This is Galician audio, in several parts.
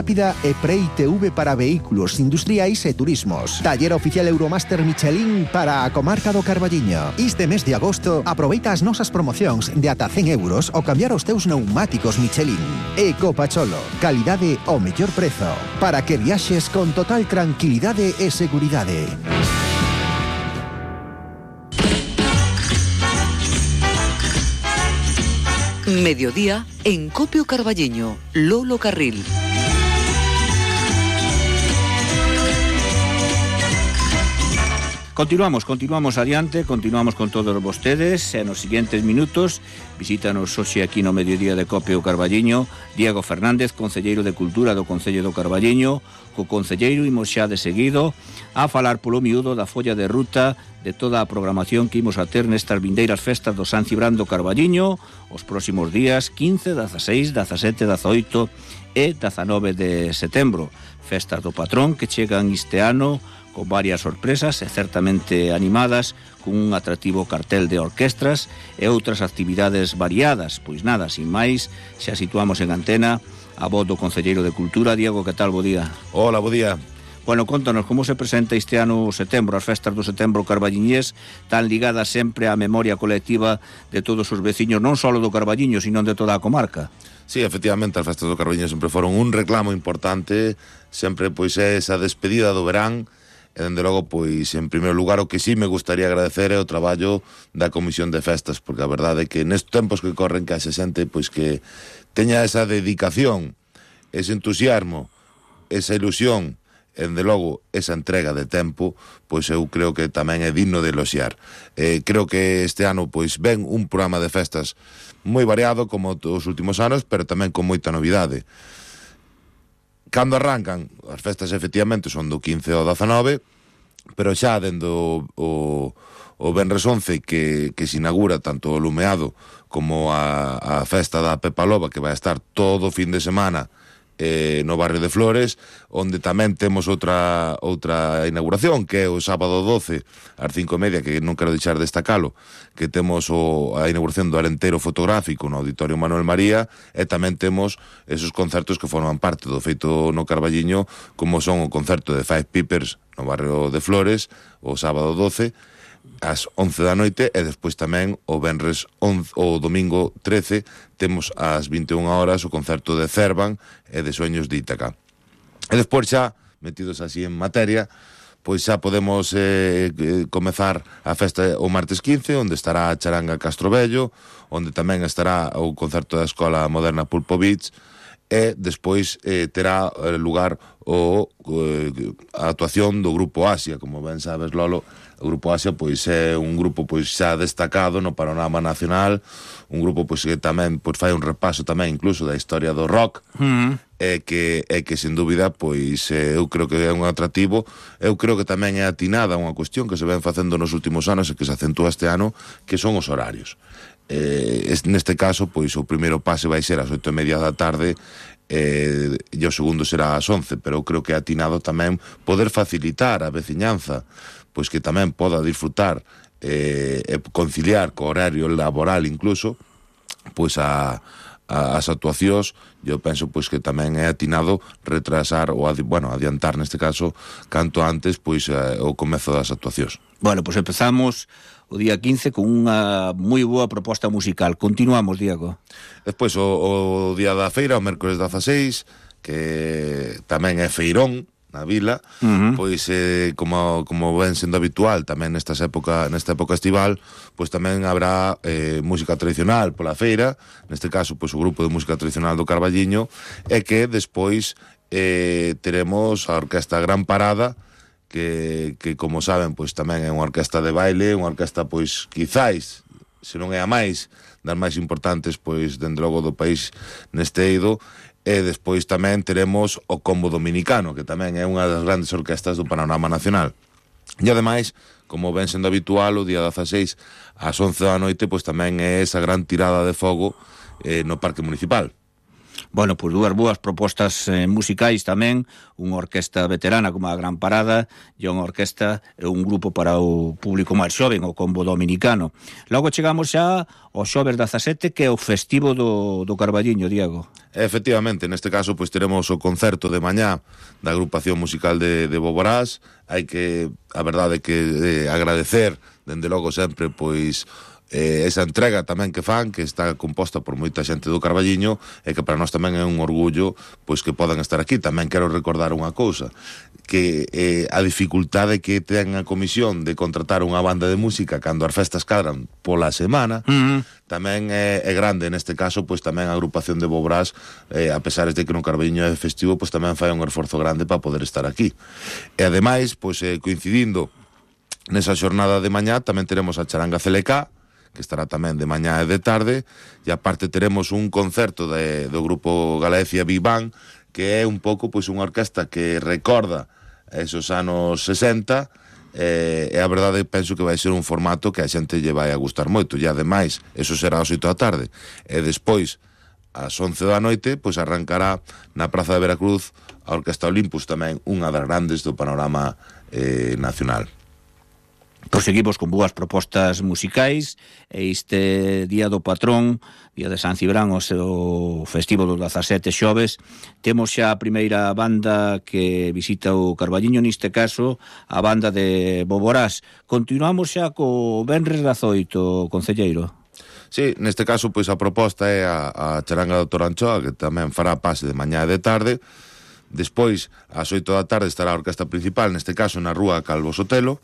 rápida e Pre-ITV para vehículos industriais e turismos. Taller oficial Euromaster Michelin para a comarca do Carballiño. Este mes de agosto aproveita as nosas promocións de ata 100 euros ao cambiar os teus pneumáticos Michelin. Ecopacholo, calidade ao mellor prezo, para que viaxes con total tranquilidade e seguridade. Mediodía en Copio Carballiño, Lolo Carril. Continuamos adiante, continuamos con todos vostedes e nos seguintes minutos visítanos hoxe aquí no Mediodía de Copio Carballiño Diego Fernández, concelleiro de Cultura do Concello do Carballiño. Co concelleiro imos xa de seguido a falar polo miúdo da folla de ruta de toda a programación que imos a ter nestas vindeiras festas do San Cibrán do Carballiño os próximos días 15, 16, 17, 18 e 19 de setembro. Festas do patrón que chegan este ano con varias sorpresas e certamente animadas, con un atractivo cartel de orquestras e outras actividades variadas. Pois nada, sin máis, xa situamos en antena a voz do concelleiro de Cultura. Diego, que tal? Bo día. Hola, bo día. Bueno, contanos, como se presenta este ano o setembro, as festas do setembro carballiñés, tan ligadas sempre á memoria colectiva de todos os veciños, non só do Carballiño, sino de toda a comarca. Sí, efectivamente, as festas do Carballiño sempre foron un reclamo importante, sempre pois é esa despedida do verán. E, dende logo, pois, en primeiro lugar, o que sí me gustaría agradecer é o traballo da Comisión de Festas, porque a verdade é que nestes tempos que corren que haxe xente, pois, que teña esa dedicación, ese entusiasmo, esa ilusión, e, dende logo, esa entrega de tempo, pois eu creo que tamén é digno de eloxiar. Creo que este ano, pois, ven un programa de festas moi variado, como os últimos anos, pero tamén con moita novidade. Cando arrancan, as festas efectivamente son do 15 ao 19, pero xa dendo o Venres 11 que se inaugura tanto o Lumeado como a festa da Pepa Loba, que vai estar todo o fin de semana no barrio de Flores, onde tamén temos outra inauguración, que é o sábado 12 ás 5:30, que non quero deixar destacalo, que temos a inauguración do Alenteiro Fotográfico no Auditorio Manuel María, e tamén temos esos concertos que forman parte do feito no Carballiño, como son o concerto de Five Pipers no barrio de Flores o sábado 12 ás 11 da noite, e despois tamén o venres 11, o domingo 13 temos ás 21 horas o concerto de Cervan e de Sueños de Ítaca. E despois xa, metidos así en materia, pois xa podemos comezar a festa o martes 15, onde estará a Charanga Castrovello, onde tamén estará o concerto da Escola Moderna Pulpo Beach, e despois terá lugar a actuación do Grupo Asia. Como ben sabes, Lolo, o Grupo Asia pois é un grupo pois xa destacado no panorama nacional, un grupo pois que tamén pois fai un repaso tamén incluso da historia do rock, e que sen dúbida pois eu creo que é un atractivo. Eu creo que tamén é atinada unha cuestión que se ven facendo nos últimos anos e que se acentúa este ano, que son os horarios. Neste caso, pois o primeiro pase vai ser ás 8:30 da tarde, e o segundo será ás 11, pero eu creo que é atinado tamén poder facilitar a veciñanza, pois que tamén poda disfrutar e conciliar co horario laboral incluso, pois as actuacións. Eu penso pois que tamén é atinado retrasar ou adiantar neste caso canto antes pois o comezo das actuacións. Bueno, pois empezamos o día 15 con unha moi boa proposta musical. Continuamos, Diego. Despois o día da feira, o mércores 16, que tamén é feirón na vila, pois como ven sendo habitual tamén nesta época estival, pois tamén habrá música tradicional pola feira, neste caso pois o grupo de música tradicional do Carballiño, e que despois teremos a Orquesta Gran Parada, que como saben pois tamén é unha orquesta de baile, unha orquesta pois quizáis, se non é a máis das máis importantes pois dentro logo do país neste eido. E despois tamén teremos o Combo Dominicano, que tamén é unha das grandes orquestas do panorama nacional. E ademais, como ven sendo habitual, o día 16 ás 11 da noite pois tamén é esa gran tirada de fogo no Parque Municipal. Bueno, pois dúas boas propostas musicais tamén, unha orquesta veterana como a Gran Parada e unha orquesta, un grupo para o público máis xoven, o Combo Dominicano. Logo chegamos xa ao xoves 17, que é o festivo do Carballiño, Diego. Efectivamente, neste caso pois teremos o concerto de mañá da agrupación musical de Boborás. Hai que, a verdade que agradecer, dende logo sempre, pois esa entrega tamén que fan, que está composta por moita xente do Carballiño, e que para nós tamén é un orgullo pois que podan estar aquí. Tamén quero recordar unha cousa, que a dificultade que ten a comisión de contratar unha banda de música cando as festas cadran pola semana, tamén é grande. Neste caso, pois tamén a agrupación de Boborás, a pesar de que no Carballiño é festivo, pois tamén fai un esforzo grande para poder estar aquí. E ademais, pois coincidindo nesa xornada de mañá, tamén teremos a Charanga CLK, que estará tamén de mañá e de tarde, e aparte teremos un concerto do grupo Galicia Big Bang, que é un pouco pois unha orquesta que recorda esos anos 60, e a verdade penso que vai ser un formato que a xente lle vai a gustar moito, e ademais, eso será ás 8 da tarde, e despois ás 11 da noite, pois arrancará na Praza de Veracruz a Orquesta Olympus, tamén unha das grandes do panorama nacional. Proseguimos con boas propostas musicais, e este día do patrón, día de San Cibrán, o festivo do 17 xoves, temos xa a primeira banda que visita o Carballiño, neste caso a banda de Boborás. Continuamos xa co venres 18, concelleiro. Sí, neste caso, pois a proposta é a charanga do Toranchoa, que tamén fará pase de mañá e de tarde. Despois, ás 8 da tarde, estará a orquesta principal, neste caso na rúa Calvo Sotelo.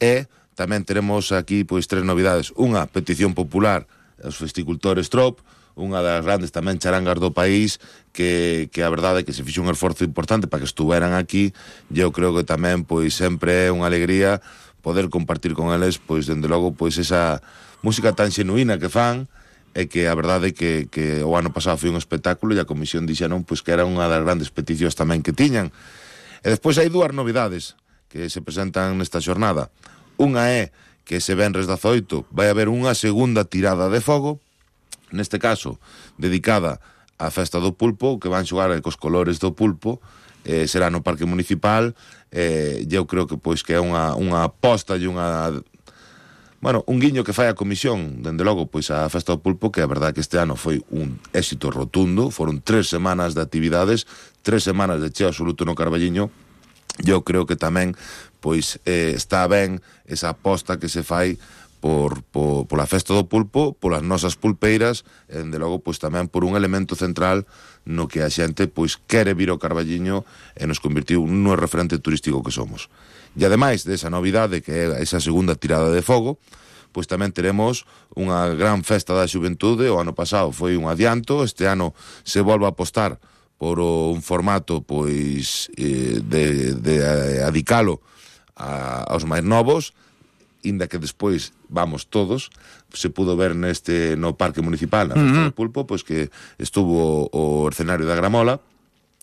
E tamén teremos aquí pois 3 novidades. Unha petición popular aos festicultores Trop, unha das grandes tamén charangas do país, que a verdade é que se fixo un esforzo importante para que estuveran aquí, e eu creo que tamén pois sempre é unha alegría poder compartir con eles, pois dende logo pois esa música tan xenuína que fan, e que a verdade é que o ano pasado foi un espectáculo, e a comisión dixeron pois que era unha das grandes peticións tamén que tiñan. E despois hai dúas novidades que se presentan nesta xornada. Unha é que ese venres 18 vai haber unha segunda tirada de fogo, neste caso dedicada á festa do pulpo, que van xogar cos colores do pulpo, será no Parque Municipal, e eu creo que pois que é unha aposta e un guiño que fai a comisión, dende logo, pois a festa do pulpo, que a verdade que este ano foi un éxito rotundo. Foron 3 semanas de actividades, 3 semanas de cheo absoluto no Carballiño. Eu creo que tamén pois está ben esa aposta que se fai pola festa do pulpo, polas nosas pulpeiras, e dende logo pois tamén por un elemento central no que a xente pois quere vir ao Carballiño e nos convertiu nun referente turístico que somos. E ademais desa novidade, que é esa segunda tirada de fogo, pois tamén teremos unha gran festa da xuventude. O ano pasado foi un adianto, este ano se volve a apostar por un formato pois de adicalo aos máis novos, inda que despois vamos todos. Se pudo ver no Parque Municipal, na festa do pulpo, pois que estuvo o escenario da Gramola,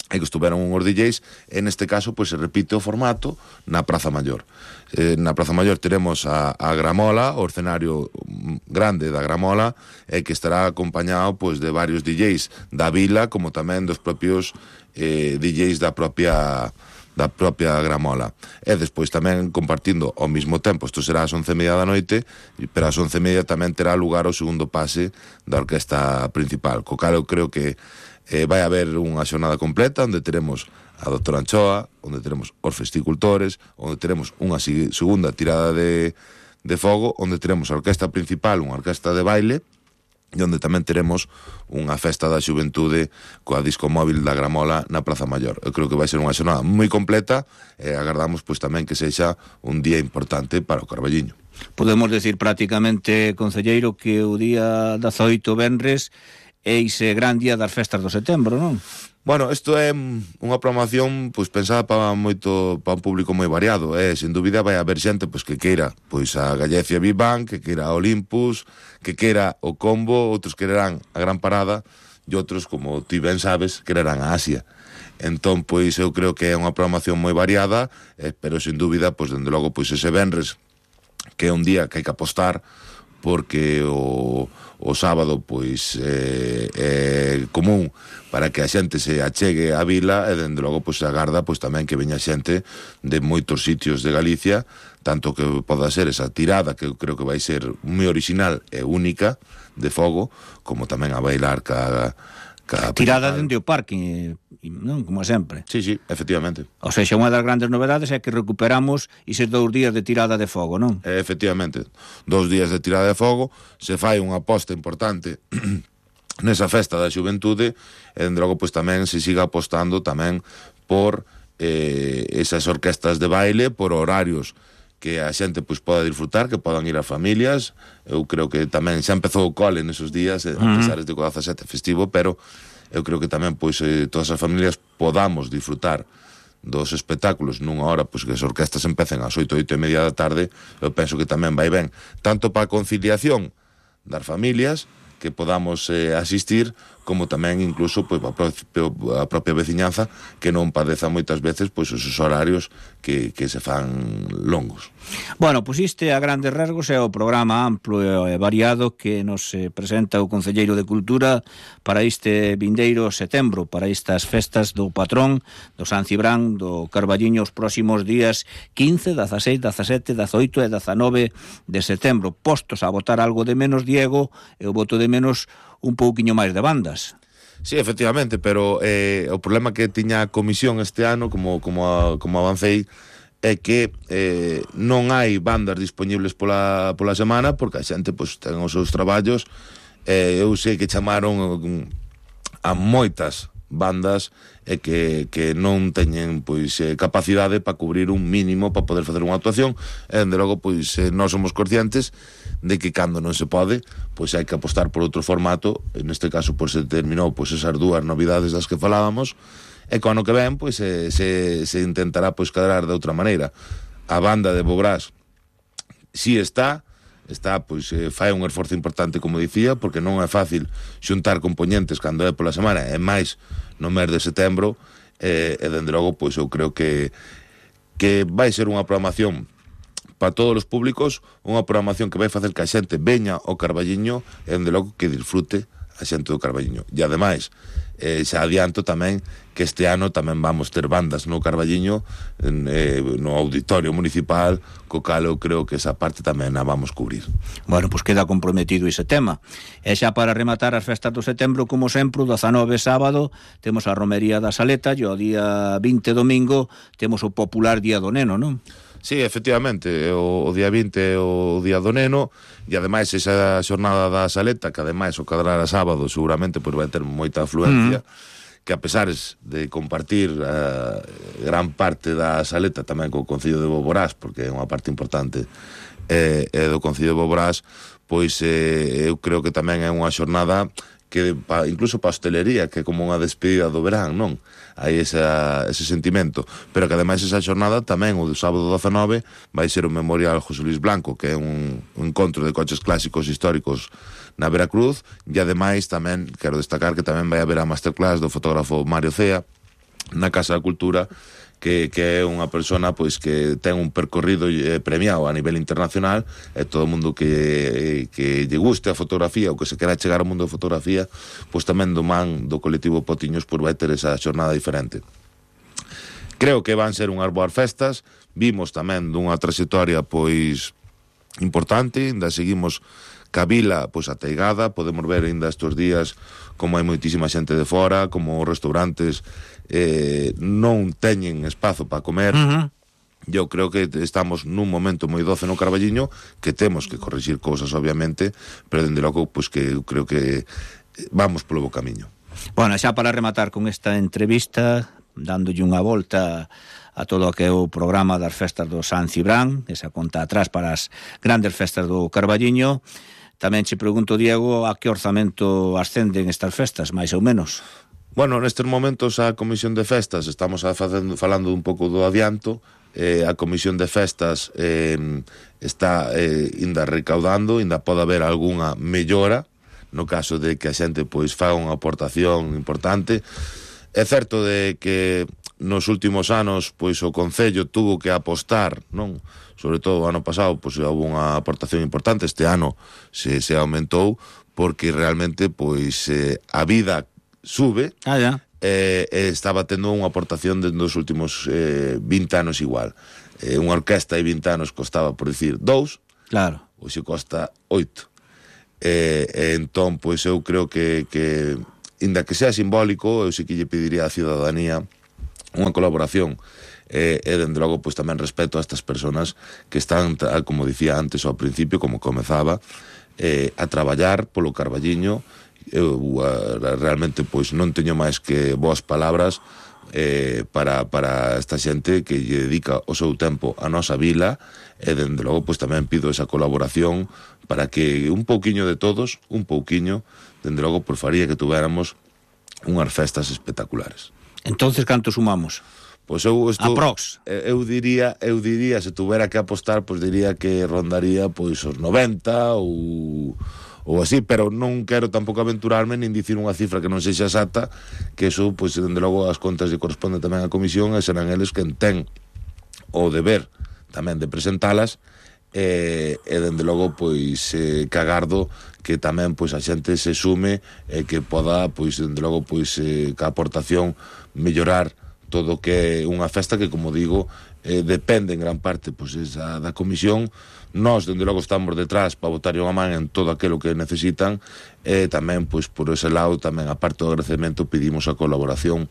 e que estuveron uns DJs, e neste caso pois se repite o formato na Praza Maior. Na Praza Maior teremos a Gramola, o escenario grande da Gramola, e que estará acompañado pois de varios DJs da vila, como tamén dos propios DJs da propia Gramola. E despois tamén compartindo ao mesmo tempo, isto será ás 11:30 da noite, pero ás 11:30 tamén terá lugar o segundo pase da orquesta principal, co cal eu creo que vai haber unha xornada completa onde teremos a Doutora Anchoa, onde teremos os festicultores, onde teremos unha segunda tirada de fogo, onde teremos a orquesta principal, unha orquesta de baile, e onde tamén teremos unha festa da xuventude coa disco móvil da Gramola na Praza Maior. Eu creo que vai ser unha xornada moi completa, e agardamos pois tamén que sexa un día importante para o Carballiño. Podemos decir prácticamente, concelleiro, que o día 18 venres é ese gran día das festas do setembro, non? Bueno, isto é unha programación pois pensada para un público moi variado, sen dúbida vai haber xente pois que queira pois a Galicia Big Bang, que queira a Olympus, que queira o Combo, outros quererán a Gran Parada, e outros, como ti ben sabes, quererán a Asia. Entón, pois eu creo que é unha programación moi variada, pero sin dúbida, pois dende logo, pois ese venres, que é un día que hai que apostar porque o sábado pois é común para que a xente se achegue á vila, e dende logo pois se agarda pois tamén que veña xente de moitos sitios de Galicia, tanto que poda ser esa tirada, que eu creo que vai ser moi original e única de fogo, como tamén a bailar ca tirada dende o parque, non? Como sempre. Sí, efectivamente. O sea, unha das grandes novedades é que recuperamos eses 2 días de tirada de fogo, non? Efectivamente, 2 días de tirada de fogo, se fai unha aposta importante nesa festa da xuventude, e dende logo pois tamén se siga apostando tamén por esas orquestas de baile, por horarios que a xente pois poda disfrutar, que podan ir a familias. Eu creo que tamén xa empezou o cole nesos días, a pesar de que o 17 festivo, pero eu creo que tamén pois todas as familias podamos disfrutar dos espectáculos nunha hora pois que as orquestas empecen ás 8:30 da tarde. Eu penso que tamén vai ben, tanto para a conciliación das familias, que podamos asistir, como tamén incluso pois a propia veciñanza, que non padeza moitas veces pois os horarios que se fan longos. Bueno, pois isto a grandes rasgos é o programa amplo e variado que nos presenta o Concelleiro de Cultura para este vindeiro setembro, para estas festas do patrón do San Cibrán do Carballiño, os próximos días 15, 16, 17, 18 e 19 de setembro. Postos a votar algo de menos, Diego, eu voto de menos un pouquiño máis de bandas. Sí, efectivamente, pero o problema que tiña a comisión este ano, como avancei, é que non hai bandas disponibles pola semana, porque a xente pois ten os seus traballos. Eu sei que chamaron a moitas bandas e que non teñen pois capacidade para cubrir un mínimo para poder facer unha actuación, e dende logo pois nós somos conscientes de que cando non se pode pois hai que apostar por outro formato. Neste caso pois se terminou pois esas 2 novidades das que falábamos, e co ano que ven pois se intentará pois cadrar de outra maneira. A banda de Bobrás si está pois fai un esforzo importante, como dicía, porque non é fácil xuntar componentes cando é pola semana, e máis no mes de setembro, e dende logo pois eu creo que vai ser unha programación para todos os públicos, unha programación que vai facer que a xente veña ao Carballiño e dende logo que disfrute a xente do Carballiño. E ademais, xa adianto tamén que este ano tamén vamos ter bandas no Carballiño, no auditorio municipal, co cal eu creo que esa parte tamén a vamos cubrir. Bueno, pois queda comprometido ese tema. E xa para rematar as festas do setembro, como sempre, o 19 sábado temos a Romería da Saleta, e o día 20 domingo temos o popular Día do Neno, non? Sí, efectivamente, o día 20 é o Día do Neno, e ademais esa xornada da Saleta, que ademais o cadrar a sábado seguramente pois vai ter moita afluencia, que a pesar de compartir gran parte da Saleta tamén co Concello de Boborás, porque é unha parte importante do Concello de Boborás, pois eu creo que tamén é unha xornada que incluso para a hostelería, que é como unha despedida do verán, non? Hai ese sentimento, pero que ademais esa xornada tamén, o do sábado 19, vai ser o Memorial José Luis Blanco, que é un encontro de coches clásicos históricos na Veracruz, e ademais tamén quero destacar que tamén vai haber a masterclass do fotógrafo Mario Cea na Casa da Cultura, que é unha persona pois que ten un percorrido premiado a nivel internacional, e todo o mundo que lle guste a fotografía ou que se quera chegar ao mundo da fotografía, pois tamén do man do colectivo Potiños por vai ter esa xornada diferente. Creo que van ser unhas boas festas. Vimos tamén dunha trayectoria pois importante, ainda seguimos ca vila pois ateigada, podemos ver ainda estes días como hai moitísima xente de fora, como os restaurantes non teñen espazo para comer. Eu creo que estamos nun momento moi doce no Carballiño, que temos que corrixir cousas obviamente, pero dende logo pois que eu creo que vamos polo bo camiño. Bueno, xa para rematar con esta entrevista, dándolle unha volta a todo o que é o programa das festas do San Cibrán, esa conta atrás para as grandes festas do Carballiño, tamén che pregunto, Diego, a que orzamento ascenden estas festas, máis ou menos? Bueno, nestes momentos a Comisión de Festas estamos falando un pouco do adianto. A Comisión de Festas está ainda recaudando, ainda pode haber algunha mellora no caso de que a xente pois faga unha aportación importante. É certo de que nos últimos anos pois o Concello tuvo que apostar, non? Sobre todo o ano pasado pois houve unha aportación importante, este ano se aumentou porque realmente pois a vida sube. Estaba tendo unha aportación dentro dos últimos 20 anos igual. Unha orquesta de 20 anos costaba, por dicir, 2, claro, hoxe costa 8. Entón, pois eu creo que inda que sea simbólico, eu sí que lle pediría á ciudadanía unha colaboración e dende logo pois tamén respeto a estas persoas que están, como dicía antes ao principio, como comezaba, a traballar polo Carballiño. Eu realmente pois non teño máis que boas palabras para esta xente que lle dedica o seu tempo a nosa vila, e dende logo pois tamén pido esa colaboración para que un pouquiño de todos, dende logo por faría que tuviéramos unhas festas espectaculares. Entonces, canto sumamos? Pois eu aprox. Eu diría, se tuvera que apostar, pois diría que rondaría pois os 90 ou así, pero non quero tampouco aventurarme nin dicir unha cifra que non sexa exacta, que eso, pois, dende logo as contas lle corresponde tamén á comisión e serán eles quen ten o deber tamén de presentalas, e dende logo, pois, que agardo que tamén, pois, a xente se sume e que poda, pois, dende logo, pois, ca aportación mellorar todo o que é unha festa que, como digo, depende en gran parte, pois, da comisión. Nós, dende logo, estamos detrás para botarlle unha man en todo aquilo que necesitan, e tamén, pois, por ese lado, tamén, a parte do agradecemento, pedimos a colaboración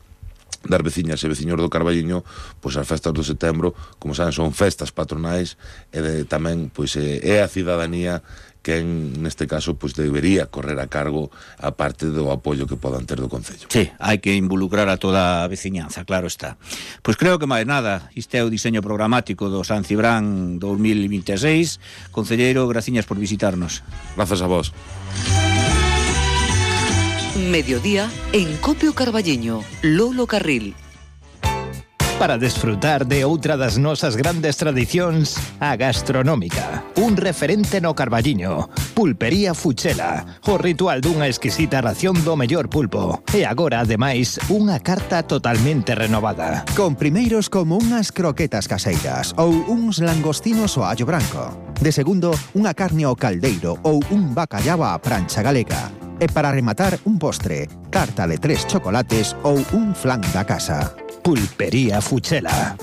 das veciñas e veciños do Carballiño, pois as festas do setembro, como saben, son festas patronais, e tamén, pois, é a cidadanía que neste caso pois debería correr a cargo a parte do apoio que podan ter do Concello. Sí, hai que involucrar a toda a veciñanza, claro está. Pois creo que máis nada, isto é o diseño programático do San Cibrán 2026. Concelleiro, graciñas por visitarnos. Grazas a vos. Mediodía en Copio Carballiño, Lolo Carril. Para desfrutar de outra das nosas grandes tradicións, a gastronómica. Un referente no Carballiño. Pulpería Fuchela. O ritual dunha exquisita ración do mellor pulpo. E agora, ademais, unha carta totalmente renovada. Con primeiros como unhas croquetas caseiras ou uns langostinos ao allo branco. De segundo, unha carne ao caldeiro ou un bacallao á prancha galega. E para rematar, un postre, tarta de 3 chocolates ou un flan da casa. Pulpería Fuchela.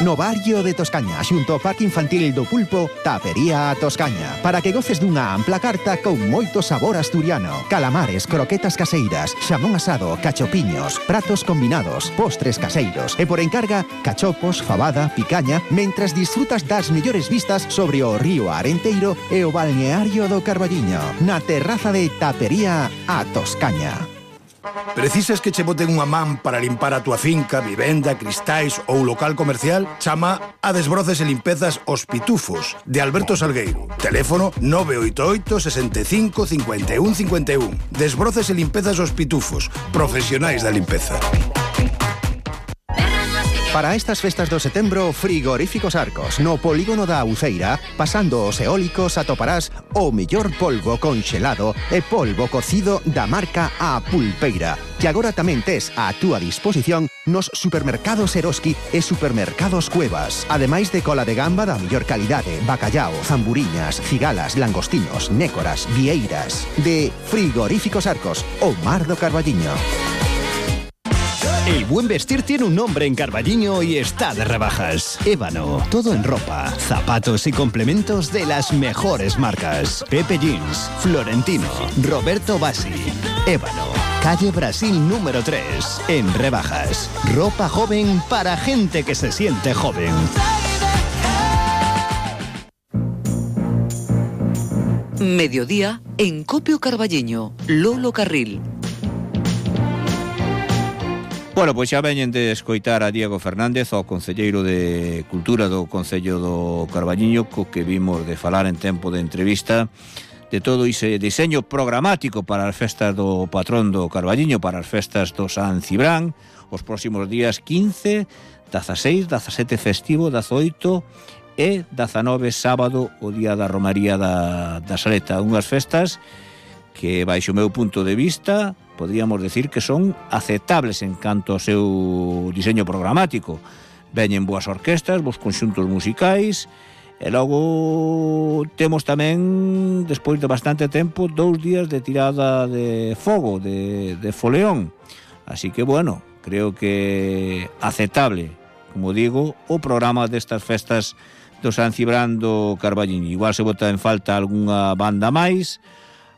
No barrio de Toscaña, xunto ao Parque Infantil do Pulpo, Tapería a Toscaña, para que goces dunha ampla carta con moito sabor asturiano. Calamares, croquetas caseiras, xamón asado, cachopiños, pratos combinados, postres caseiros e por encarga, cachopos, fabada, picaña, mentras disfrutas das mellores vistas sobre o río Arenteiro e o balneario do Carballiño, na terraza de Tapería a Toscaña. Precisas que che boten unha man para limpar a túa finca, vivenda, cristais ou local comercial? Chama a Desbroces e Limpezas Os Pitufos, de Alberto Salgueiro. Teléfono 988 65 51 51. Desbroces e Limpezas Os Pitufos, profesionais da limpeza. Para estas festas do setembro, Frigoríficos Arcos. No polígono da Uceira, pasando os eólicos, atoparás o mellor polvo conxelado e polvo cocido da marca A Pulpeira, que agora tamén tes a túa disposición nos supermercados Eroski e supermercados Cuevas. Ademais de cola de gamba da mellor calidade, bacallao, zamburiñas, cigalas, langostinos, nécoras, vieiras. De Frigoríficos Arcos, o mar do Carballiño. El buen vestir tiene un nombre en Carballiño y está de rebajas. Ébano, todo en ropa, zapatos y complementos de las mejores marcas. Pepe Jeans, Florentino, Roberto Bassi. Ébano, calle Brasil número 3, en rebajas. Ropa joven para gente que se siente joven. Mediodía en Copio Carballiño, Lolo Carril. Bueno, pois xa veñen de escoitar a Diego Fernández, o concelleiro de Cultura do Concello do Carballiño, co que vimos de falar en tempo de entrevista de todo ese diseño programático para as festas do patrón do Carballiño, para as festas do San Cibrán, os próximos días 15, 16, 17 festivo, 18 e 19 sábado, o día da Romaría da Saleta. Unhas festas que, baixo o meu punto de vista, podríamos decir que son aceptables en canto ao seu diseño programático. Veñen boas orquestas, bons conxuntos musicais, e logo temos tamén, despois de bastante tempo, 2 días de tirada de fogo, de foleón. Así que, bueno, creo que aceptable, como digo, o programa destas festas do San Cibrán do Carballiño. Igual se bota en falta algunha banda máis,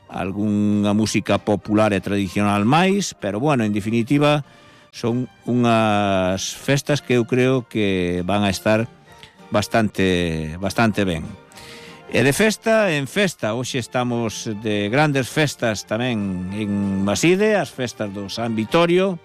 algunha música popular e tradicional máis, pero, bueno, en definitiva, son unhas festas que eu creo que van a estar bastante ben. E de festa en festa, hoxe estamos de grandes festas tamén en Maside, as festas do San Vitorio,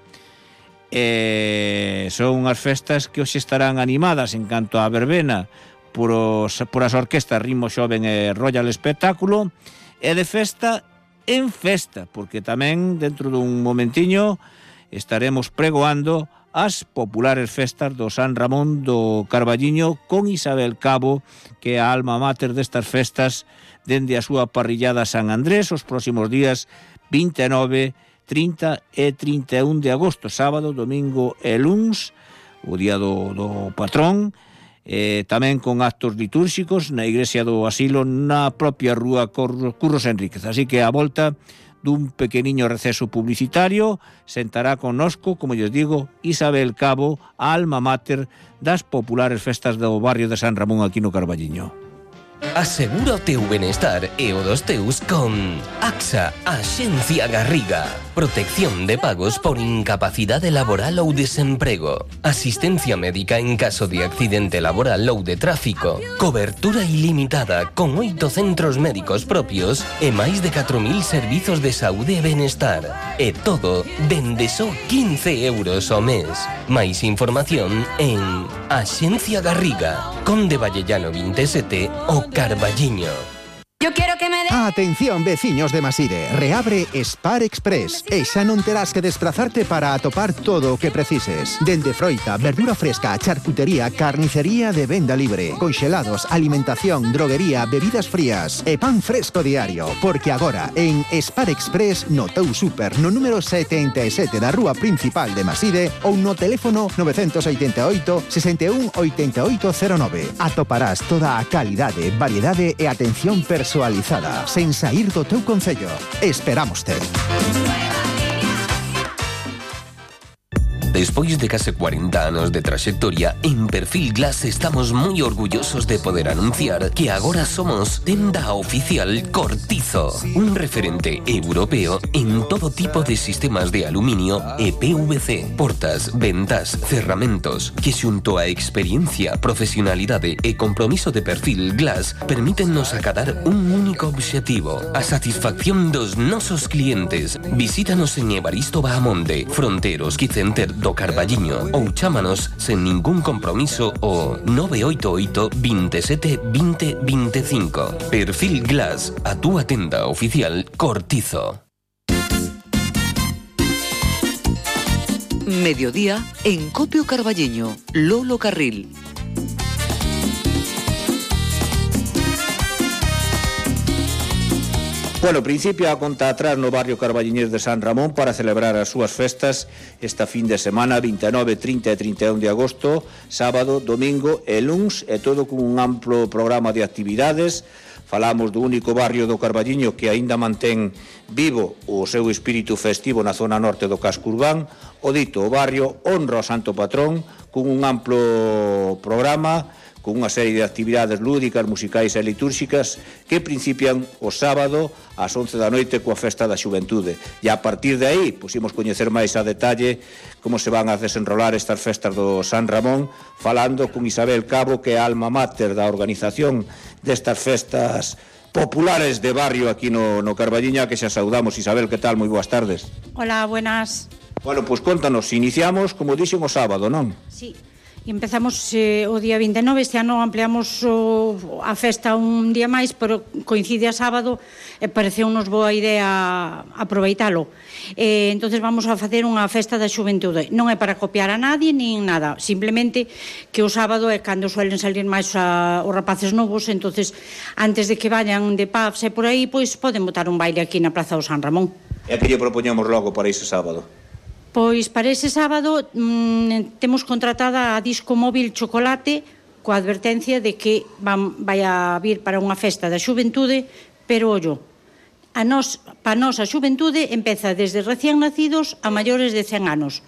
e son unhas festas que hoxe estarán animadas en canto á verbena por as orquestas Ritmo Xoven e Royal Espectáculo, e de festa en festa, porque tamén dentro dun momentiño estaremos pregoando as populares festas do San Ramón do Carballiño con Isabel Cabo, que é a alma mater destas festas dende a súa parrillada San Andrés os próximos días 29, 30 e 31 de agosto, sábado, domingo e luns, o día do patrón, tamén con actos litúrxicos na iglesia do Asilo na propia rúa Curros Enríquez. Así que a volta dun pequeniño receso publicitario sentará connosco, como lles digo, Isabel Cabo, a alma mater das populares festas do barrio de San Ramón aquí no Carballiño. Asegura o teu benestar e o dos teus con AXA, Axencia Garriga. Protección de pagos por incapacidade laboral ou desemprego. Asistencia médica en caso de accidente laboral ou de tráfico. Cobertura ilimitada con 8 centros médicos propios e máis de 4.000 servizos de saúde e benestar. E todo dende só 15 euros ao mes. Máis información en Axencia Garriga, Conde Vallellano 27 o Carballiño. Yo quiero que me dé... Atención, veciños de Maside, reabre Spar Express e xa non terás que desplazarte para atopar todo o que precises. Dende froita, verdura fresca, charcutería, carnicería de venda libre, conxelados, alimentación, droguería, bebidas frías e pan fresco diario. Porque agora, en Spar Express, no teu super, no número 77 da rúa principal de Maside ou no teléfono 988 61 8809. Atoparás toda a calidade, variedade e atención personalizada sen saír do teu concello. Esperámoste. Despois de case 40 anos de traxectoria, en Perfil Glass estamos moi orgullosos de poder anunciar que agora somos tenda oficial Cortizo, un referente europeo en todo tipo de sistemas de aluminio e PVC, portas, ventas, cerramentos, que xunto a experiencia, profesionalidade e compromiso de Perfil Glass permítennos acadar un único obxectivo, a satisfacción dos nosos clientes. Visítanos en Evaristo Bahamonde, Fronteros Quicenter do Carballiño ou chámanos sen ningún compromiso o 988 27 20 25. Perfil Glass, a túa tenda oficial Cortizo. Mediodía en Copio Carballiño, Lolo Carril. Bueno, principio a conta atrás no barrio carballiñés de San Ramón para celebrar as súas festas esta fin de semana, 29, 30 e 31 de agosto, sábado, domingo e luns, e todo con un amplo programa de actividades. Falamos do único barrio do Carballiño que aínda mantén vivo o seu espírito festivo na zona norte do casco urbán. O dito, o barrio honra ao santo patrón con un amplo programa, con unha serie de actividades lúdicas, musicais e litúrxicas que principian o sábado ás 11 da noite coa festa da xuventude. E a partir de aí, imos coñecer máis a detalle como se van a desenrolar estas festas do San Ramón, falando con Isabel Cabo, que é a alma mater da organización destas festas populares de barrio aquí no Carballiño, que xa saudamos. Isabel, que tal? Moi boas tardes. Hola, buenas. Bueno, pois contanos, iniciamos, como dixen, o sábado, non? Sí. E empezamos o día 29, este ano ampliamos a festa un día máis, pero coincide a sábado e pareceu-nos boa idea aproveitalo. Entonces vamos a facer unha festa da xuventude. Non é para copiar a nadie, nin nada, simplemente que o sábado é cando suelen salir máis os rapaces novos, entonces antes de que vayan de pubs e por aí, pois poden botar un baile aquí na Praza do San Ramón. E que lle propoñemos logo para ese sábado? Pois para ese sábado temos contratada a Disco Móvil Chocolate coa advertencia de que vai a vir para unha festa da xuventude, pero ollo, para nós a xuventude empeza desde recién nacidos a maiores de 100 anos.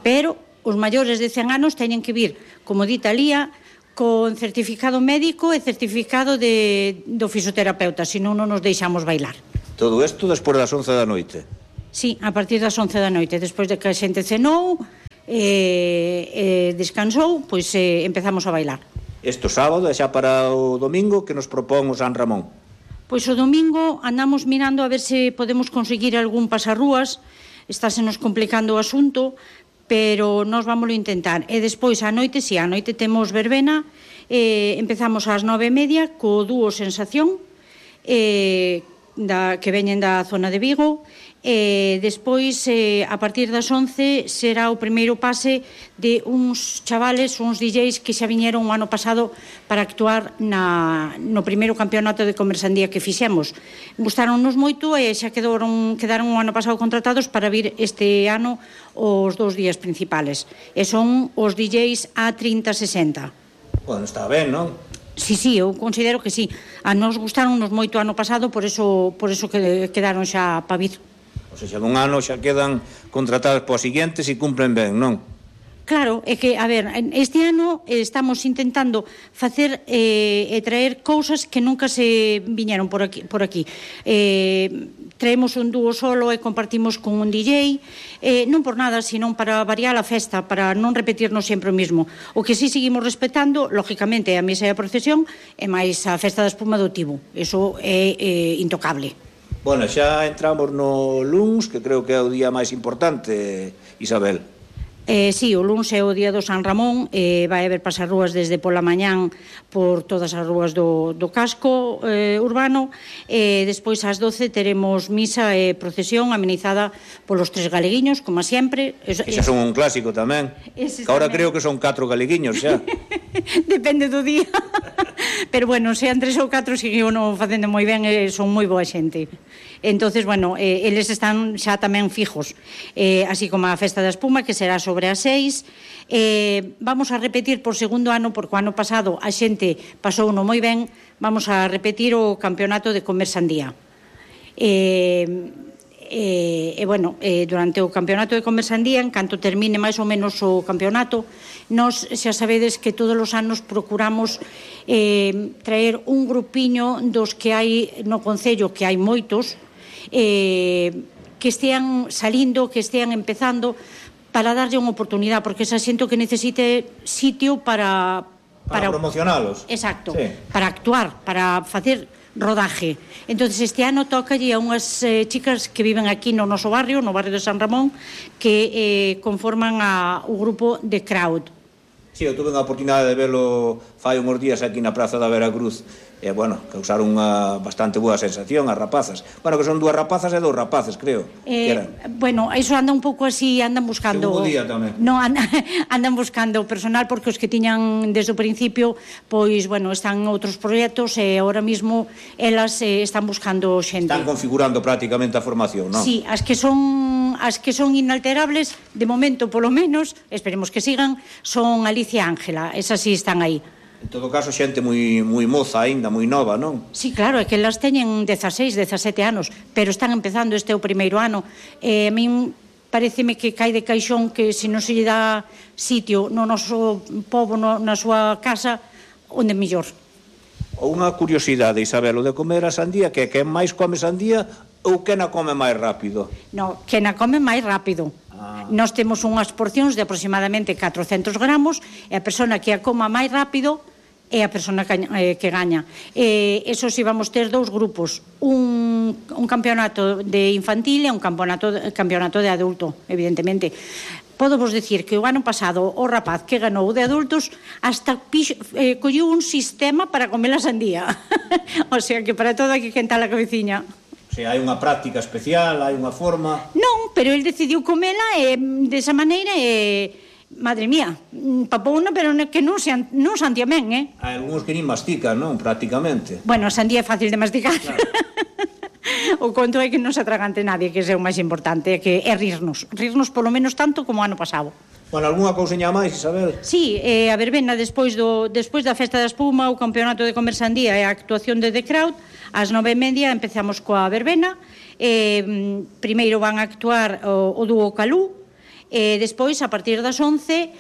Pero os maiores de 100 anos teñen que vir, como dita Lía, con certificado médico e certificado do fisioterapeuta, senón non nos deixamos bailar. Todo isto despois das 11 da noite? Sí, a partir das 11 da noite, despois de que a xente cenou descansou, pois empezamos a bailar. Este sábado e xa para o domingo que nos propón o San Ramón? Pois o domingo andamos mirando a ver se podemos conseguir algún pasarrúas, estásenos complicando o asunto, pero nós vámoslo intentar. E despois a noite, si, a noite temos verbena, empezamos ás 9:30 co dúo Sensación, que veñen da zona de Vigo, e despois a partir das 11 será o primeiro pase de uns chavales, uns DJs que xa viñeron o ano pasado para actuar no primeiro campeonato de Comersandía que fixemos. Gustaronnos moito e xa quedaron o ano pasado contratados para vir este ano os 2 días principales, e son os DJs A3060. Bueno, está ben, non? Sí, eu considero que sí. A nos gustaronnos moito o ano pasado, por eso que quedaron xa para vir. O sea, dun ano xa quedan contratados para os seguintes e cumplen ben, non? Claro, é que, a ver, este ano estamos intentando facer e traer cousas que nunca se viñeron por aquí. Traemos un dúo solo e compartimos con un DJ, non por nada, senón para variar a festa, para non repetirnos sempre o mesmo. O que sí seguimos respetando, lógicamente, a misa e a procesión, e máis a festa da espuma do Tibo. Eso é intocable. Bueno, xa entramos no luns, que creo que é o día máis importante, Isabel. Sí, o luns é o día do San Ramón, vai haber pasarrúas desde pola mañán por todas as rúas do casco urbano, e despois ás 12 teremos misa e procesión amenizada polos 3 galeguiños, como sempre. Xa son un clásico tamén, que ahora creo que son 4 galeguiños xa. Depende do día. Pero bueno, sean 3 ou 4 seguían facendo moi ben e son moi boa xente. Entonces, bueno, eles están xa tamén fijos, así como a Festa da Espuma, que será sobre as 6. Vamos a repetir por segundo ano, porque o ano pasado a xente pasou no moi ben, vamos a repetir o campeonato de Comersandía. Bueno, durante o campeonato de Comersandía, en canto termine máis ou menos o campeonato, nós xa sabedes que todos os anos procuramos traer un grupiño dos que hai no Concello, que hai moitos, que estean salindo, que estean empezando, para darlle unha oportunidade, porque xa xento que necesite sitio para promocionalos. Exacto, sí. Para actuar, para facer rodaje. Entonces este ano tócalle a unhas chicas que viven aquí no noso barrio, no barrio de San Ramón, que conforman o grupo de Crowd. Sí, eu tuve a oportunidade de velo fai uns días aquí na Praza da Veracruz, e, bueno, causaron unha bastante boa sensación as rapazas. Bueno, que son 2 rapazas e 2 rapaces, creo. Bueno, iso anda un pouco así, andan buscando... Segundo día tamén. No, andan buscando personal, porque os que tiñan desde o principio, pois, bueno, están outros proxectos e ahora mismo elas están buscando xente. Están configurando prácticamente a formación, non? Sí, as que son inalterables, de momento, polo menos, esperemos que sigan, son Alicia e Ángela, esas sí están aí. En todo caso, xente moi moza aínda, moi nova, non? Sí, claro, é que elas teñen 16, 17 anos, pero están empezando, este é o primeiro ano. A min pareceme que cae de caixón que se non se lle dá sitio no noso pobo, na súa casa, onde mellor. Unha curiosidade, Isabel, o de comer a sandía, que quen máis come sandía ou quen a come máis rápido? No, quen a come máis rápido. Nós temos unhas porcións de aproximadamente 400 gramos, e a persona que a coma máis rápido é a persona que gaña. Eso si vamos ter 2 grupos, un campeonato de infantil e un campeonato de adulto, evidentemente. Podo vos dicir que o ano pasado o rapaz que ganou de adultos hasta colleu un sistema para comer a sandía. O sea que para todo hai que quentar a cabeciña. O sea, hai unha práctica especial, hai unha forma... Non, pero el decidiu comela desa maneira e... Madre mía, papouna, pero que non santía ben, Hai algúns que nin mastican, non? Prácticamente. Bueno, a sandía é fácil de masticar. Claro. O conto é que non se atragante nadie, que é o máis importante, que é rirnos polo menos tanto como o ano pasado. Bueno, algunha cousiña máis, Isabel? Sí, a verbena despois da festa da espuma, o campeonato de conversandía e a actuación de The Crowd, ás 9:30 empezamos coa verbena. Primeiro van a actuar o dúo Calú, despois a partir das 11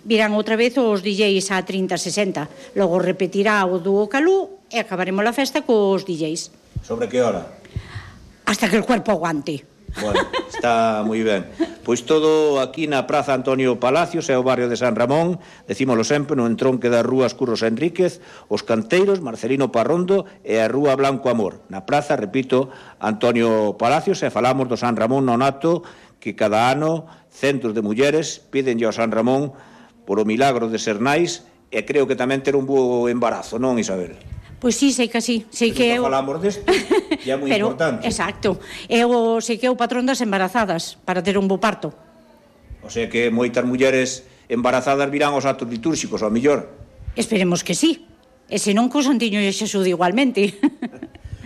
virán outra vez os DJs a 30-60, logo repetirá o dúo Calú e acabaremos a festa cos DJs. Sobre que hora? Hasta que el cuerpo aguante. Bueno, está moi ben. Pois todo aquí na Praza Antonio Palacios, é o barrio de San Ramón, decímolo sempre, no entronque das rúas Curros Enríquez, os Canteiros, Marcelino Parrondo e a Rúa Blanco Amor. Na praza, repito, Antonio Palacios, e falamos do San Ramón Nonato, que cada ano centos de mulleres pídenlle ao San Ramón por o milagro de ser nais, e creo que tamén ter un bo embarazo, non, Isabel? Pois sí, sei que sí. Sei que falamos desto, e é moi importante. Exacto. Sei que é o patrón das embarazadas para ter un bo parto. O sea que moitas mulleres embarazadas virán aos actos litúrxicos, ao mellor. Esperemos que sí. E se non, co Santiño e Xesús igualmente.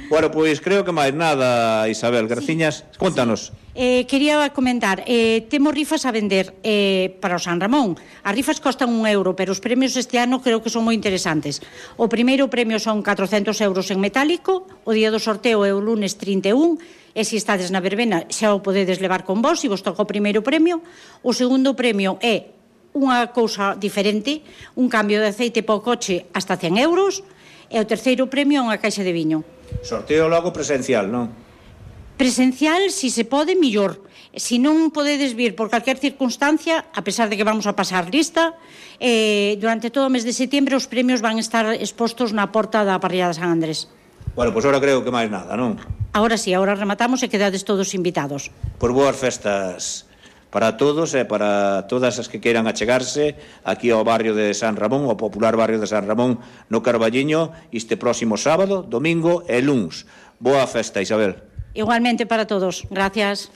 Bueno, pois creo que máis nada, Isabel. Graciñas. Contanos. Quería comentar, temos rifas a vender para o San Ramón. As rifas costan €1, pero os premios este ano creo que son moi interesantes. O primeiro premio son 400 euros en metálico, o día do sorteo é o lunes 31, e se estades na verbena xa o podedes levar con vos, se vos toca o primeiro premio. O segundo premio é unha cousa diferente, un cambio de aceite para o coche hasta 100 euros, e o terceiro premio é unha caixa de viño. Sorteo logo presencial, non? Presencial, si se pode, millor. Si non podedes vir por calquer circunstancia, a pesar de que vamos a pasar lista, durante todo o mes de setembro os premios van estar expostos na porta da parrilla de San Andrés. Bueno, pois ahora creo que máis nada, non? Ahora sí, ahora rematamos e quedades todos invitados. Por boas festas para todos e para todas as que queiran achegarse aquí ao barrio de San Ramón, ao popular barrio de San Ramón no Carballiño, este próximo sábado, domingo e luns. Boa festa, Isabel. Igualmente para todos. Gracias.